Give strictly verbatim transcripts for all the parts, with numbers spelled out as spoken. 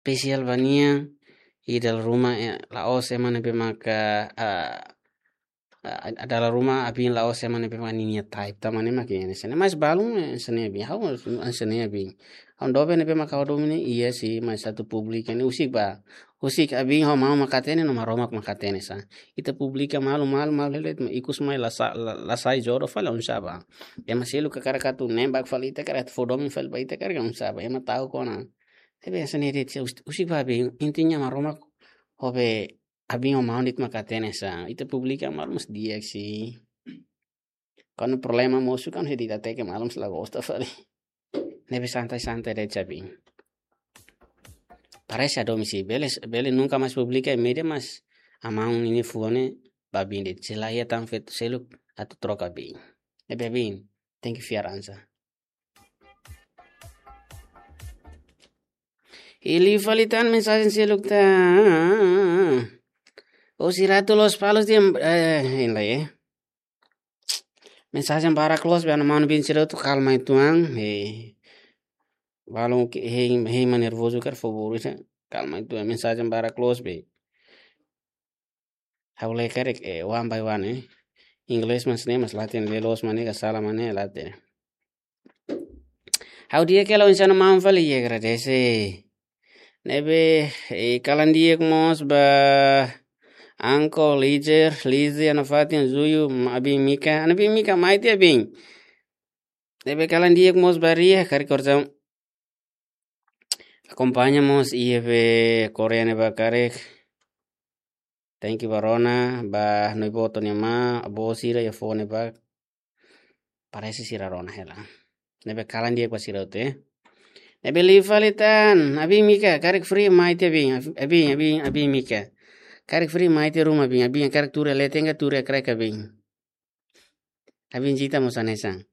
spesiál ba nia, i dala ruma, eh, la'ós ema ne'ebé maka, ah, ah, dala ruma abin la'ós ema ne'ebé maka ninia type, tanba ne'e mak hanesan ne'e. Mas balun, eh, hanesan ne'e abin, ha'u hanesan ne'e abin. Ha'u doben ne'ebé maka ha'u domin ne'e, iha si, mas atu publika ne'e husik ba. Husik abin ho maun mak hatene, no Maromak mak hatene sa. Ita publika malu, malu, malu, hela de'it, mas ikus mai la sa-, la, la sai jodoh fali, oinsá ba. Ema seluk hakarak atu nembak fali ita, hakarak atu fó domin fali ba ita, hakarak oinsá ba. Ema ta'uk ona. Ne'ebé hanesan ne'e de'it, hus-, husik ba abin, intinya Maromak ho be abin ho maun de'it mak hatene sa. Ita publika malu mas di'ak si. Kuandu problema mosu, kuandu hedi ita-nia malu mas la gosta fali. Ne'ebé santai-santai de'it abin. Parese hadomi si, bele, bele nunka mais publika iha média, mas amaun ninia fuan ne'e ba abin de'it. Se la iha tan feto seluk atu troka abin. Ne'ebé abin, tenke fiar an sa. Liu fali tan mensajen seluk tan. Ó sira atu Lospalos dehan, eh, hein lai, eh. Mensajen barak loos be, ha'u-nia maun-bin sira atu kalma uitoan, eh. Balun ke, hein, hein mak nervozu karik, favór, eh, kalma uitoan, mensajen barak loos be. Ha'u lee karik, eh, one by one, eh. Inglés mas ne'e, mas la hatene, lee loos mak ne'e ka sala mak ne'e, la hatene. Ha'u di'ak hela, oinsá ona maun fali, i agradese. Ne'ebé, eh, kalan di'ak mós ba Anko, Lizer, Lize, ha'u-nia fatin, Zuyu, ma-, abin Mika, ha'u-nia abin Mika, mai tiha abin. Ne'ebé kalan di'ak mós ba Ria, karik orsida akompaña mós iha be Korea ne'ebá karik. Thank you ba rona, ba Noi Boto nia ma, avó sira iha fone ba. Parese sira rona hela. Ne'ebé kalan di'ak ba sira hotu, eh. Ne'ebé liu fali tan, abin Mika, karik free mai tiha abin, abin, abin, abin Mika. Karik free mai tiha ruma abin, abin karik tuur iha leten ka tuur iha kraik abin. Abin Zita mós hanesan.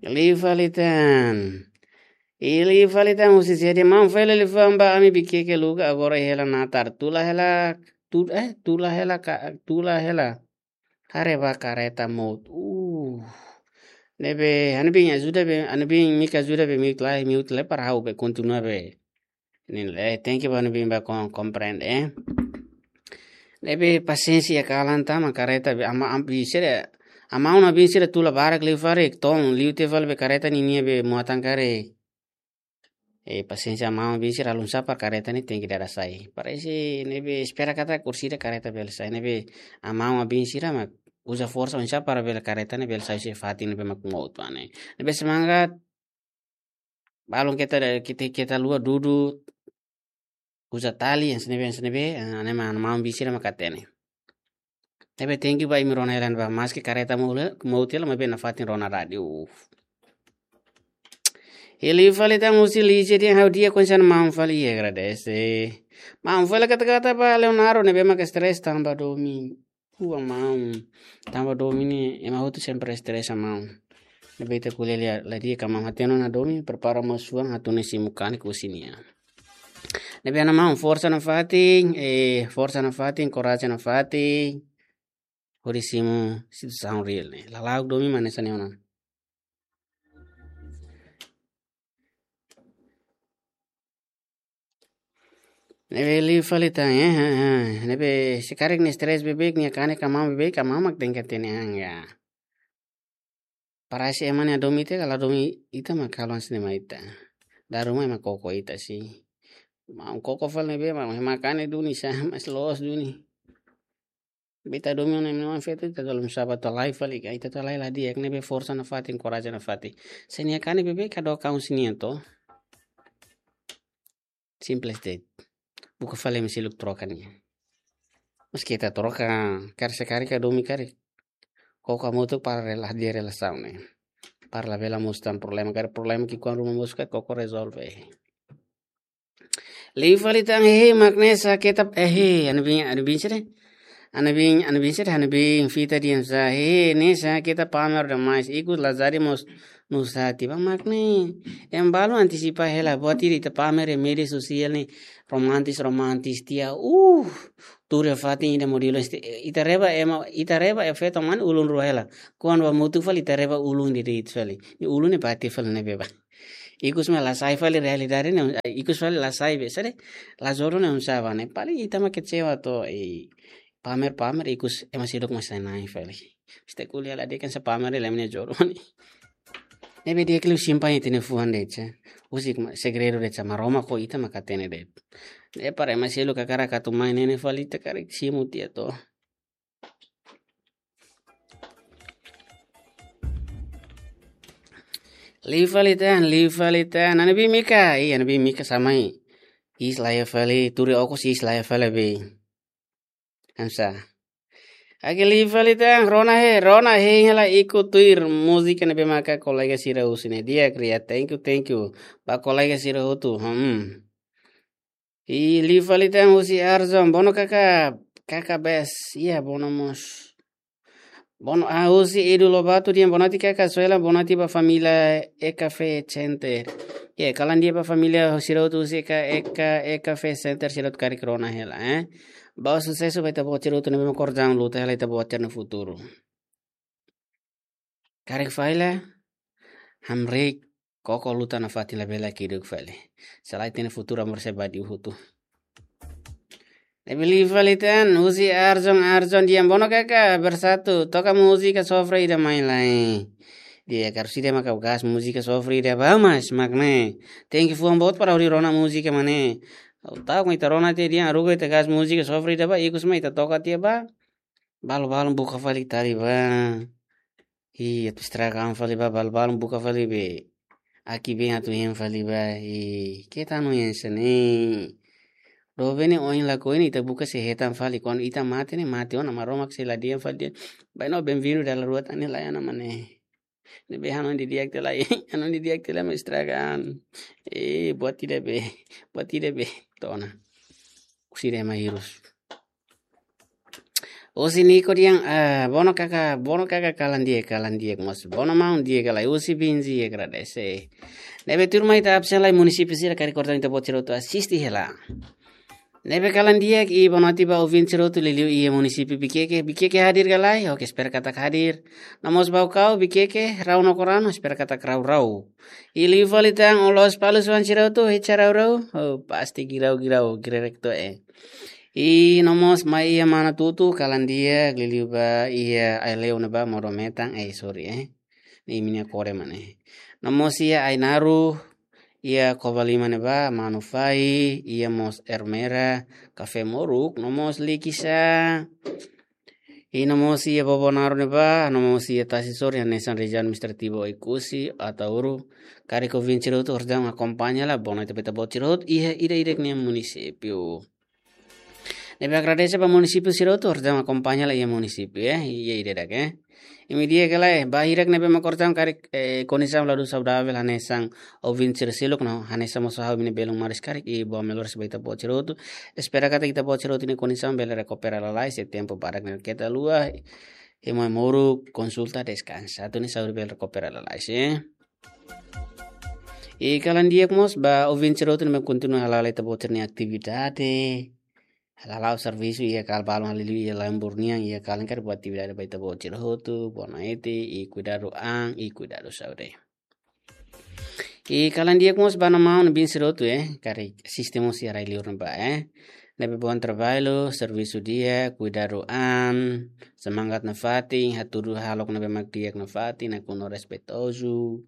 Liu fali tan. I liu fali tan husi sé dehan, maun fali liafuan ba ami Viqueque lugar agora hela natar. Tula hela, tu-, eh, tula hela ka-, tula hela. Haree ba kareta mout. Uh. Ne'ebé, ha'u-nia bin ajuda be, ha'u-nia bin Mika ajuda be mute lai, mute lai para ha'u be kontinua be. Ne'e, eh, thank you ba ha'u-nia bin ba kon-, komprende, eh. Ne'ebé pasiénsia kalan tan mak kareta be ama-, am-, bin sira, amaun nia bin sira tula barak liu fali, to'o liu tiha fali be kareta ninia be muatan karik. Eh, pasiénsia amaun bin sira la oinsá para kareta ne'e tenke dada sai. Parese ne'ebé espera katak orsida kareta bele sai. Ne'ebé amaun nia bin sira mak uza forsa oinsá para bele kareta ne'e bele sai husi fatin ne'ebé mak mout ba ne'e. Ne'ebé semangat. Balun keta, keta, keta haluha dudu. Uza tali, hanesan ne'ebé, hanesan ne'ebé, ah, ne'e mak ha'u-nia maun bin sira mak hatene. Ne'ebé thank you ba imi rona hela ne'ebá, maski kareta mout, mout hela, maibé nafatin rona rádiu. Uf. I liu fali tan husi Lize dehan ha'u di'ak, oinsá ona maun fali, i agradese. Maun fali kata-kata ba Leonardo ne'ebé mak stress tanba domin. Ua maun. Tanba domin ne'e, ema hotu sempre stress maun. Ne'ebé ita ko'alia la di'ak ka maun, hatene ona domin, prepara mós fuan, hatún ne'e simu kanek husi nia. Ne'ebé ha'u-nia maun, forsa nafatin, eh, forsa nafatin, korajen nafatin. Hodi simu situasaun reál ne'e. Lala'ok domin mak hanesan ne'e ona. Ne'ebé liu fali tan, eh, eh, eh. Ne'ebé se karik nia stress beibeik, nia kanek ka maun beibeik, ka maun mak tenke hatene an ya. Parese ema ne'e hadomi ita ka la hadomi ita mak halo hanesan ne'e mai ita. Dala ruma ema koko ita si. Maun koko fali ne'ebé, maun ema kanek duni sa, mas loos duni. Be ita domin ona ema feto, ita tolong sabar, ita halai fali ka, ita halai la di'ak, ne'ebé forsa nafatin, korajen nafatin. Se nia kanek beibeik, ka dook an husi nia to. Simples de'it. Buka fali ema seluk troka nia. Maski ita troka, karik se karik hadomi karik. Koko hamutuk para rela-, hadi'a relasaun ne'e. Para labele mosu tan problema, karik problema ki'ikoan ruma mosu karik koko rezolve. Liu fali tan, hehe, mak ne'e sá keta, hehe, ha'u-nia bin, ha'u-nia bin sira. Ha'u-nia bin, ha'u-nia bin sira, ha'u-nia bin Fita dehan sá, hehe, ne'e sá keta pamer demais. Ikus lazari mós nusá tiha ba mak ne'e. Ema balu antisipa hela, buat ida ita pamer iha média sosiál ne'e, romantis, romantis tiha. Uh, tuur iha fatin ida modelu este, ita reba ema, ita reba efeito mane ulun rua hela. Kuandu hamutuk fali ita reba ulun de'it fali. Ne'e ulun ne'e bati fali ne'ebé ba. Ikus mak la sai fali realidade ne'e, eh, ikus fali la sai be, sede, la jodoh ne'e oinsá ba ne'e. Paling ita mak kecewa to, eh, pamer-pamer ikus ema seluk mak sai na'in fali. Esta kuliah la dehan hanesan pamer de'it ema nia jodoh ne'e. Ne'ebé di'ak liu simpan ita-nia fuan de'it, husi ma-, segredu de'it, Maromak ho ita mak hatene de'it. Ne'e para ema seluk hakarak atu mai ne'e ne'e fali ita karik simu tiha to. Liu fali tan, liu fali tan. Ana bi Mika, iya, ana bi Mika samai. Iis laiha fali, tuur iha okos iis laiha fali be. Hanesan. Oke, liu fali tan, rona he, rona he, hela ikus tuir múzika ne'ebé maka kolega sira husu ne'e di'ak, kria. Thank you, thank you. Ba kolega sira hotu, hmm. I liu fali tan husi Arzon, bono kaka, kaka bes, iya bono mós. Bono, ah, husi Edu Lobato dehan boa noite kaka, Suela, boa noite ba família E K F Center. Iya, kalan di'ak ba família sira hotu husi E K, E K, E K F Center sira hotu karik rona hela, eh. Ba susesu ba ita-boot sira hotu ne'ebé mak kordang luta hela ita-boot sira-nia futuru. Karik fali la, hamriik koko luta nafatin labele kiduk fali. Selae ita-nia futuru amor se badi uhutu. Ne'ebé liu fali tan, husi Arzon, Arzon dehan bono kaka, bersatu, toka múzika sofre ida mai lai. Di'ak, karik sira maka gás múzika sofre ida ba mas, mak ne'e. Tenke fuan boot para hodi rona múzika mak ne'e. Ha'u ta'uk mak ita rona tiha dehan, haruka ita gás múzika sofre ida ba, ikus mak ita toka tiha ba. Balu-balu buka fali tali ba. Ih, atu estraga an fali ba, balu-balu buka fali be. Aki be atu hein fali ba. Ih, keta anu hein hanesan ne'e. Doben ne'e ohin lakohi ne'e ita buka sei hetan fali. Kuandu ita mate ne'e mate ona, Maromak sei la dehan fali dehan, "Ba ino benvindu dala rua tan ne'e, la iha ona mak ne'e." Ne'ebé hanoin didi'ak tiha lai, hanoin didi'ak tiha lai mak estraga an. Eh, buat ida be, buat ida be. To'o ona. Husi ema hirus. Husi Niko dehan, ah, bono kaka, bono kaka kalan di'ak, kalan di'ak mós. Bono maun di'ak ka lae, husi Binzi, agradese. Ne'ebé tuirmai ita absen lai, munisípiu sira karik kordang ita-boot sira hotu asiste hela. Ne'ebé kalan di'ak, i boa noite ba ouvinte sira hotu liuliu iha munisípiu Viqueque, Viqueque hadir ka lae, oke, espera katak hadir. No mós Baucau, Viqueque, Rau no Corano, espera katak rau-rau. I liu fali tan, o Lospalos oan sira hotu, hecha rau-rau, oh, pasti girau-girau, girerek to, eh. I no mós mai iha Manatuto, kalan di'ak, liuliu ba iha Aileu ne'ebá, modo metan, eh, sorry, eh. Ne'e imi-nia kore mak ne'e. No mós iha Ainaro, iha Covalima ne'ebá, Manufai, iha mós Ermera, Café Moruk, no mós Likisá. I no mós iha Bobonaro ne'ebá, no mós iha Tasi Sor, hanesan rejiaun administrativu Oekusi, Ataúro. Karik ouvinte sira hotu kordang akompaña hela, boa noite ba ita-boot sira hotu, iha ida-idak nia munisípiu. Ne'ebé agradese ba munisípiu sira hotu, kordang akompaña hela iha munisípiu, eh, iha ida-idak, eh. Imi di'ak ka lae, ba hirak ne'ebé mak kordang karik, eh, kondisaun la dún saudavel hanesan ouvinte sira seluk no, hanesan mós ha'u imi-nia belun maris karik, i boas melhoras ba ita-boot sira hotu. Espera katak ita-boot sira hotu nia kondisaun bele rekupera lalais, se tempu badak ne'e keta haluha, i mai moru, konsulta, deskansa. Atu nia saúde bele rekupera lalais, eh. I kalan di'ak mós ba ouvinte sira hotu ne'ebé kontinua hala'o ita-boot sira-nia atividade. Hala'o servisu iha kala balun, hala'o iha lembur nian, iha kala karik buat atividade ba ita-boot sira hotu, boa noite, i kuidadu an, i kuidadu saúde. I kalan di'ak mós ba maun-alin sira hotu, eh, karik asiste mós iha rai-liur ne'ebá, eh. Ne'ebé bom trabalho, servisu di'ak, kuidadu an, semangat nafatin, hatudu hahalok ne'ebé mak di'ak nafatin, nakonu respeitozu.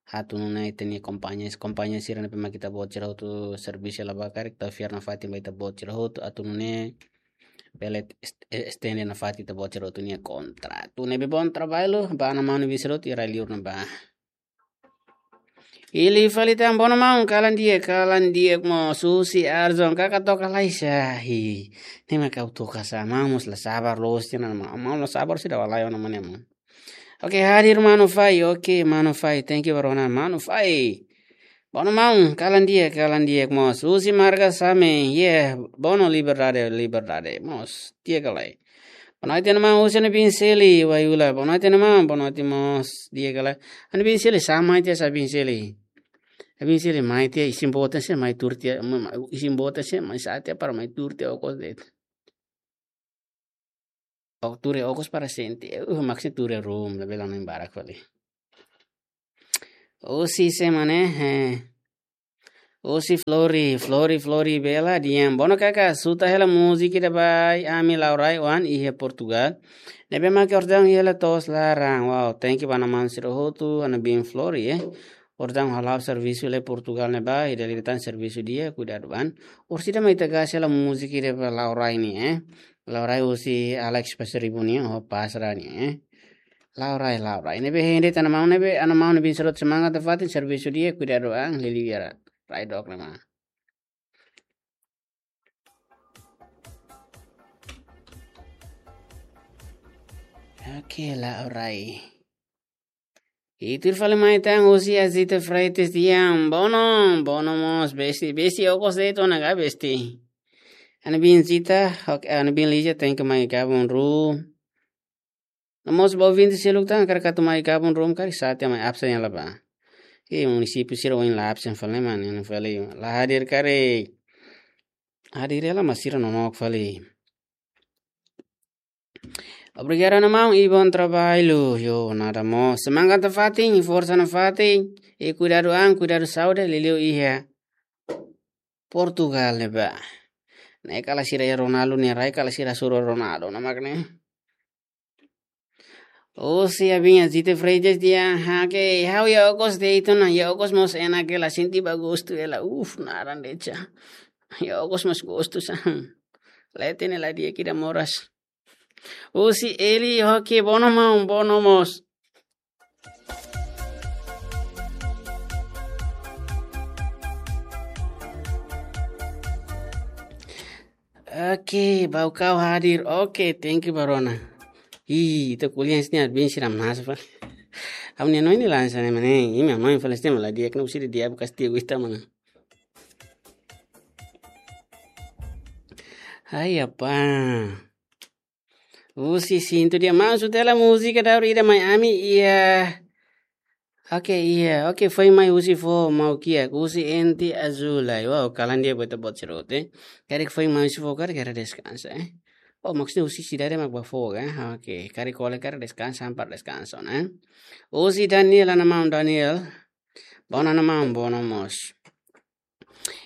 Hatudu nune'e ita-nia kompañia, kompañia sira ne'ebé mak ita-boot sira hotu servisu iha ne'ebá karik, atu fiar nafatin ba ita-boot sira hotu, atu nune'e bele est-, estende nafatin ita-boot sira hotu nia kontratu. Ne'ebé bom trabalho ba maun-alin sira hotu iha rai-liur ne'ebá. I liu fali tan, bono maun, kalan di'ak, kalan di'ak mós, husi Arzon, kaka toka lai sa, hi. Ne'e mak ha'u toka sa, maun mós la sabar loos tiha ona, maun la sabar sida walai ona mak ne'e maun. Oke, hadir Manu Fai. Oke, Manu Fai. Thank you, ba rona Manu Fai. Bono maun, kalan di'ak, kalan di'ak mós. Husi marga Same, yeah, bono liberdade, liberdade mós. Di'ak ka lae. Boa noite, maun, husi Ana Binseli, Waiula. Boa noite, maun, boa noite mós. Di'ak ka lae. Ana Binseli, sá mai tiha, sá Binseli. Ana Binseli, mai tiha, isin-boot sira mai tuur tiha, ma-, ma-, isin-boot sira mai sa'e tiha para mai tuur tiha okos de'it. Ó tuur iha okos para sente, uh, maksudnya tuur iha room, labele hanoin barak fali. Husi sé mak ne'e, eh. Husi Flori, Flori, Flori Bela, di'ak. Bono kaka, suta hela múzika ida ba ami Laurai oan iha Portugal. Ne'ebé mak orsida hela to'os laran. Wow, thank you ba namaan sira hotu, hanesan Flori, eh. Orsida hala'o servisu iha Portugal ne'ebá, ida-idak tan servisu di'ak, kuidadu an. Orsida mak ita gás hela múzika ida ba Laurai nian, eh. Laurai husi Alex Pasaribu nian, ho Pasra nian, eh. Laurai, Laurai. Ne'ebé hein de'it namaan, ne'ebé namaan ne'ebé sira semangat nafatin servisu di'ak, kuidadu an, liuliu iha rai dook ne'e mak. Oke, Laurai. Ita fali mai tan husi Azita Freitas di'ak. Bono, bono mós, besti, besti, okos de'it ona ka, besti. Hanesan Zita, oke, hanesan Lija, thank you mai gabung ruma. No mós ba ouvinte seluk tan, karik atu mai gabung ruma, karik sá tiha mai absen hela ba. Ke munisípiu sira ohin la absen fali, mana, la hadir karik. Hadir hela, mas sira nonook fali. Obrigadu namaan, i bom trabalho. Yo, nada mós. Semangat nafatin, forsa nafatin. I kuidadu an, kuidadu saúde, liuliu iha Portugal ne'ebá. Ne'e kala sira iha Ronaldo nia rai, kala sira suru Ronaldo, namak ne'e. Husi Abinha Zita Freitas di'ak, ha'u ke, ha'u iha okos de'it ona, iha okos mós enak hela, sente ba gostu hela, uf, naran de'it. Iha okos mós gostu sa. Leten hela di'ak ida moras. Husi Eli, oke, bono maun, bono mós. Oke, Baucau hadir. Oke, thank you, ba rona. Ih, ita ko'alia sini admin siram nasa, pa. Ha'u-nia hanoin ne'e lansa ne'e, mana. Imi hanoin fali sini, malah dia kena usir dia bekas dia gua ita, mana. Hai, apa? Husi Sintu di'ak, maun, suta hela múzika daur ida mai ami, iha. Oke, iha. Oke, foin mai husi fó mau kiak, husi Enti Azul ai. Wow, kalan di'ak ba ita-boot sira hotu, eh. Karik foin mai husi fó, karik hera deskansa, eh. Oh, maksudnya husi sidade mak ba fó, eh. Oke, karik kole karik deskansa, hampar deskansa, eh. Husi Daniel, namaan Daniel. Bono namaan, bono mós.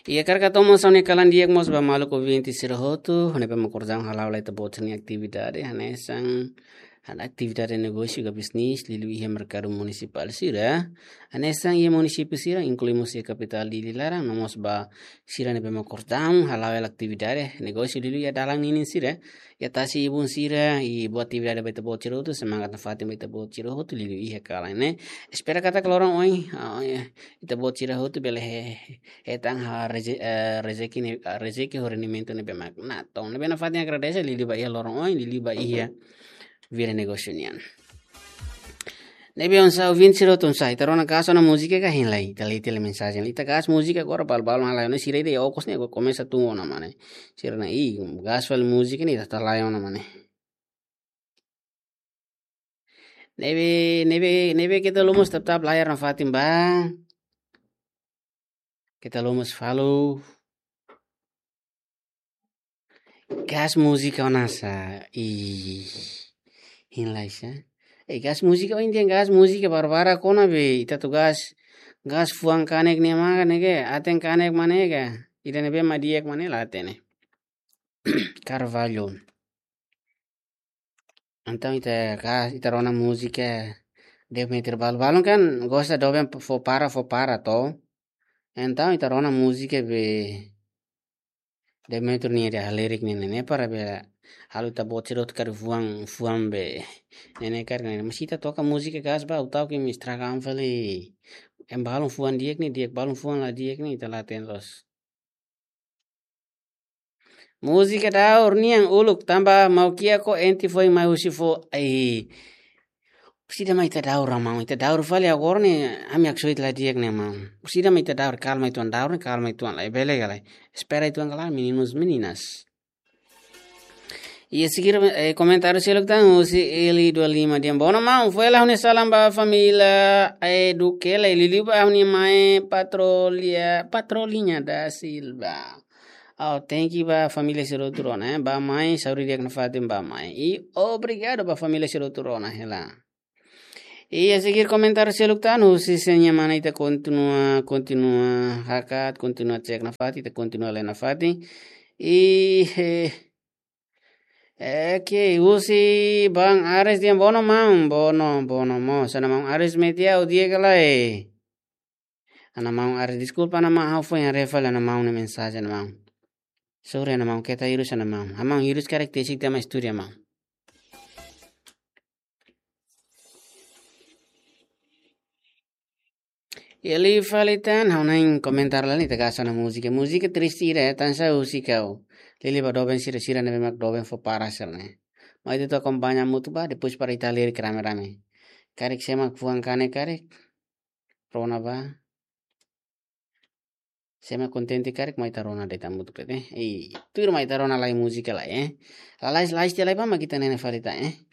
Iha karik atu mós ha'u-nia kalan di'ak mós ba maluk ouvinte sira hotu, ne'ebé mak orsida hala'o lai ita-boot sira-nia atividade, hanesan, hanesan atividade negósiu ka bisnis, liuliu iha merkadu munisipál sira, hanesan iha munisípiu sira, inklui mós iha kapitál Dili laran, no mós ba sira ne'ebé mak orsida hala'o hela atividade negósiu liuliu iha dalan ninin sira, iha tasi-ibun sira, i boa atividade ba ita-boot sira hotu, semangat nafatin ba ita-boot sira hotu, liuliu iha kalan ne'e. Espera katak loron oin, ah, ya. Ita-boot sira hotu bele he, hetan ha reze-, eh, rezeki ne'e, ah, rezeki ho rendimentu ne'ebé mak natoon. Ne'ebé nafatin agradese, liuliu ba iha loron oin, liuliu ba iha vida negósiu nian. Ne'ebé oinsá ouvinte sira hotu, oinsá, ita rona gás ona múzika ka hein lai, ita lee tiha lai mensajen. Ita gás múzika agora, balu-balu halai ona sira ida iha okos ne'e, agora komesa tun ona, mana. Sira ne'e, ih, gás fali múzika ne'e, ita halai ona, mana. Ne'ebé, ne'ebé, ne'ebé keta lomos tap-tap layar nafatin ba. Keta lomos follow. Gás múzika ona sá. Ih. Hein lai sá. Eh, gás múzika, oh, intinya gás múzika barbarak ona be. Ita atu gás, gás fuan kanek ne'e mak ne'e ke, aten kanek mak ne'e ke. Ida ne'ebé mak di'ak mak ne'e la hatene. Carvalho. Entaun ita ka, ita rona múzika Demetrio, balu-balu kan gosta doben fó para, fó para to. Entaun ita rona múzika be Demetrio nia ida lirik ne'e, ne'e para be halo ita-boot sira hotu karik fuan, fuan be. Ne'e ne'e karik ne'e. Mas ita toka múzika gás ba, ha'u ta'uk imi estraga an fali. Em balun fuan di'ak ne'e, di'ak balun fuan la di'ak ne'e, ita la hatene loos. Múzika daur nian uluk tanba mau kiak ho Enti foin mai husi fó. Ai. Orsida mak ita daur, maun, ita daur fali agora ne'e, ami haksoit la di'ak ne'e, maun. Orsida mak ita daur, kalma uitoan, daur ne'e kalma uitoan lai, bele ka lae. Espera uitoan ka lae, meninos, meninas. Iha seguir, eh, komentáriu seluk tan husi Eli dua lima di'ak. Bono maun, fó hela ha'u-nia salam ba família, eh, Duque lai, liuliu ba ha'u-nia mãe Patrolha, Patrolhinha da Silva. Oh, thank you ba família sira hotu rona, eh. Ba mãe, saúde di'ak nafatin ba mãe. I obrigadu ba família sira hotu rona hela. Iha seguir komentáriu seluk tan, husi sira-nia mana ita kontinua, kontinua hakat, kontinua cek nafatin, ita kontinua lee nafatin. I, eh, oke, husi Bang Ares dehan bono maun, bono, bono mós. Ana maun Ares metia o dia kala e. Ana maun Ares, deskulpa ana maun, ha'u foin haree fali ana maun nia mensajen ana maun. Sorry ana maun, keta hirus ana maun. Ana maun hirus karik tesik tema studio maun. Iha liu fali tan, ha'u na'in komentar lai ita hasoru ona múzika. Múzika triste ida, eh, tansá husi kau. Liuliu ba doben sira, sira ne'ebé mak doben fó para sira-ne'e. Mai ita akompaña hamutuk ba, depois para ita lee rame-rame. Karik sé mak fuan kanek karik. Rona ba. Sé mak kontente karik mai ita rona de'it hamutuk de'it, eh. I, tuir mai ita rona lai múzika lai, eh. Lalais, lais tiha lai ba mak ita nene fali tan, eh.